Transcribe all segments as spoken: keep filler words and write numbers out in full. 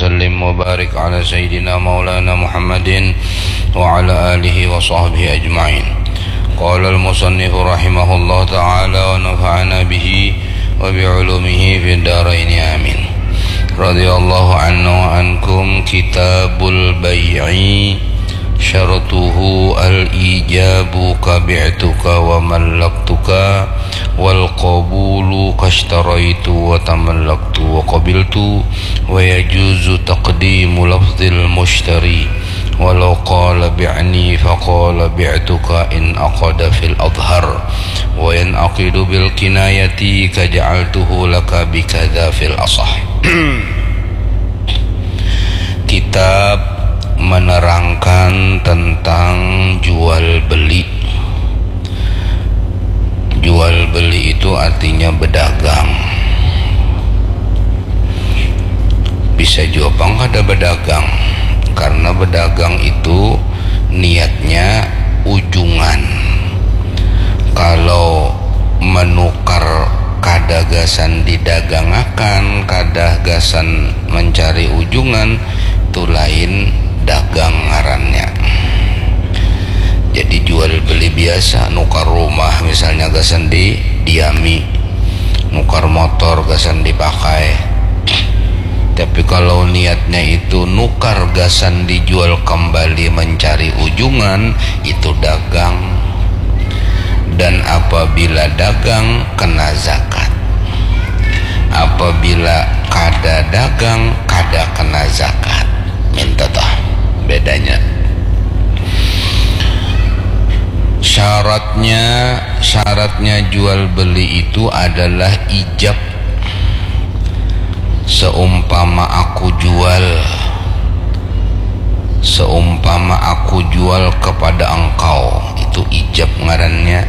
وسلم وبارك على سيدنا مولانا محمد وعلى آله وصحبه أجمعين. قال المصنف رحمه الله تعالى ونفعنا به وبعلومه في الدارين آمين. رضي الله عنا وعنكم. كتاب البيع. شرطه الإيجاب كبعتك وملكتك، والقبول كاشتريت وتملكت وقبلت، ويجوز تقديم لفظ المشتري ولو قال: "بعني"، فقال: "بعتك"، إن عقد في الأظهر، وينعقد بالكناية كجعلته لك بكذا في الأصح. Kitab menerangkan tentang jual beli. Jual beli itu artinya berdagang. Bisa jua pang kada berdagang, karena berdagang itu niatnya ujungan. Kalau menukar kada gasan didagangakan, kada gasan mencari ujungan, tu lain dagang ngarannya. Jadi jual beli biasa, nukar rumah misalnya gasan didiami, nukar motor gasan dipakai. Tapi kalau niatnya itu nukar gasan dijual kembali mencari ujungan, itu dagang. Dan apabila dagang, kena zakat. Apabila kada dagang, kada kena zakat. Minta tah bedanya. Syaratnya, syaratnya jual beli itu adalah ijab. Seumpama aku jual, seumpama aku jual kepada engkau, itu ijab ngarannya.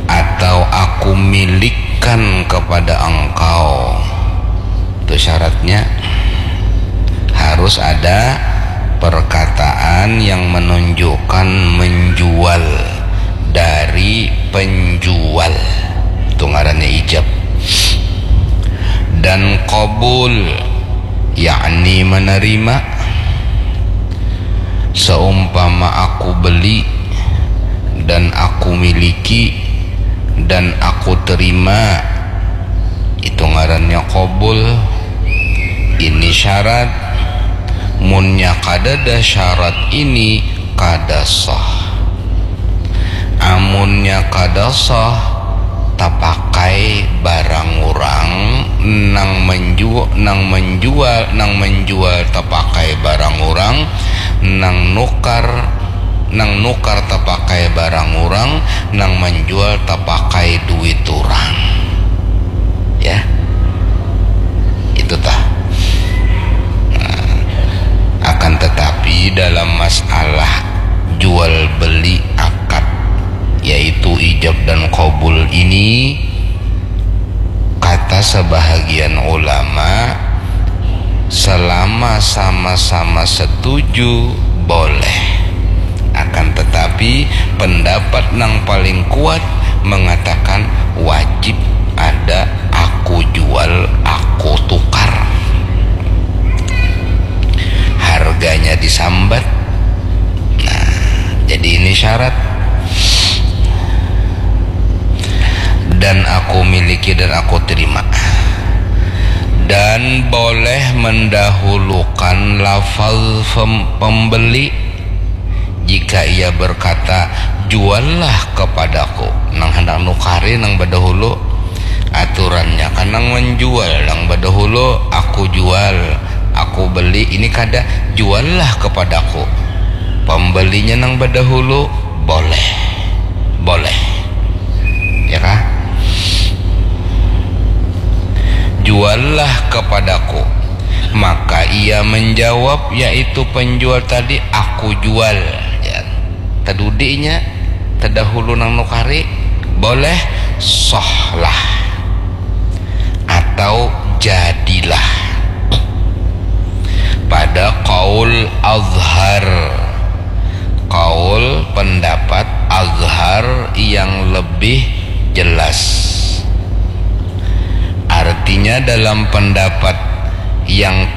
Atau aku milikkan kepada engkau, itu syaratnya. Harus ada perkataan yang menunjukkan menjual dari penjual. Itu ngarannya ijab. Dan qabul, yakni menerima. Seumpama aku beli dan aku miliki dan aku terima, itu ngarannya qabul. Ini syarat. Munnya kadada syarat ini, kada sah. Amunnya kada sah, tapakai barang urang, nang menju-, nang menjual, nang menjual tapakai barang urang, nang nukar, nang nukar tapakai barang urang, nang menjual tapakai duit urang. Ya. Itu tah. Nah, akan tetapi dalam masalah jual beli akad, yaitu ijab dan qabul ini, kata sebahagian ulama, selama sama-sama setuju, boleh. Akan tetapi, pendapat nang paling kuat mengatakan wajib ada aku jual, aku tukar. Harganya disambat. Nah, jadi ini syarat. Dan aku miliki dan aku terima. Dan boleh mendahulukan lafaz pem-, pembeli jika ia berkata, "Juallah kepadaku." Nang handak nukari nang badahulu. Aturannya kan nang menjual nang badahulu, "Aku jual, aku beli." Ini kada, "Juallah kepadaku." Pembelinya nang badahulu, boleh. Boleh. Ya kah? "Juallah kepadaku." Maka ia menjawab, yaitu penjual tadi, "Aku jual." Ya. Tadudi inya, tadahulu nang nukari, boleh, sahlah. Atau jadilah. Pada qaul azhar, qaul pendapat azhar yang lebih jelas. Artinya, dalam pendapat yang